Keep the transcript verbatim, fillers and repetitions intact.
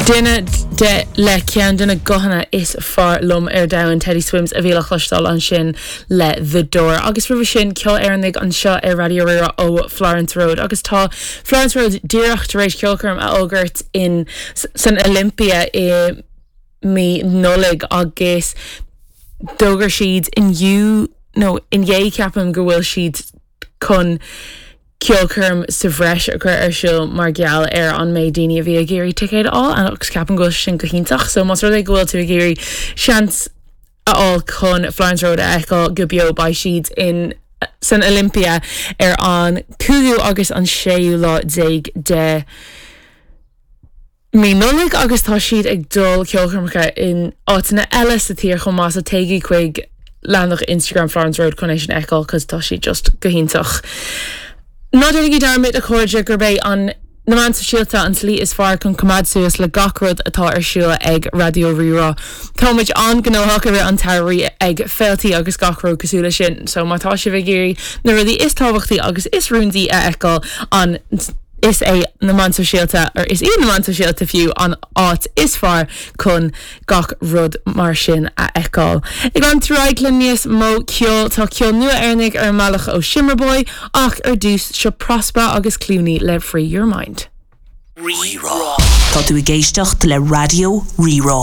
Duine de le ceann de na guthanna is fearr liom ar domhan Teddy Swims a bhí le cloisteáil ansin le The Door agus roimhe sin ceol Éireannach anseo ar Raidió Rí-Rá ó Florence Road agus tá Florence Road díreach tar éis ceolchoirm a fhógairt in san Olympia i mí Nollag agus d'fhógair siad inniu nó inné ceapaim go bhfuil siad chun ceolchoirm sa bhreis a chur ar siúl mar gheall ar an méid daoine a bhí ag iarraidh ticéad á agus ceapaim go bhfuil sin go hiontach, so más rud é go bhfuil tú ag iarraidh seans a fháil chun Florence Road a fheiceáil go beo beidh siad in san Olympia ar an cúigiú agus an séú lá déag de Mí Nollag agus tá siad ag dul ceolchoirmeacha in áiteanna eile sa tír chomh maith so téigí chuig leathanach Instagram Florence Road chun é sin a fheiceáil cos tá sí just go hiontach. Ná déanaigí dearmad a chairde gurb é an na meáin sóisialta an tslí is fearr chun coimeád suas le gach rud atá ar siúl ag Raidió Rí-Rá. Tá muid an-ghnóthach i rith an tsamhraidh ag féilte agus gach rud cosúil leis sin, so má tá sibh ag iarraidh na rudaí is tábhachtaí agus is rúndaí a fheiceáil an is é na meáin sóisialta or is iad na meáin sóisialta fiú an áit is fearr chun gach rud mar sin a fheiceáil. Ag an tráig le níos mó ceol tá ceol nua Éireannach ar an mbealach ó Shimmerboy ach ar dtús seo Prospa agus Clooney le Free Your Mind. Rí-Rá. Tá tú ag éisteacht le Raidió Rí-Rá.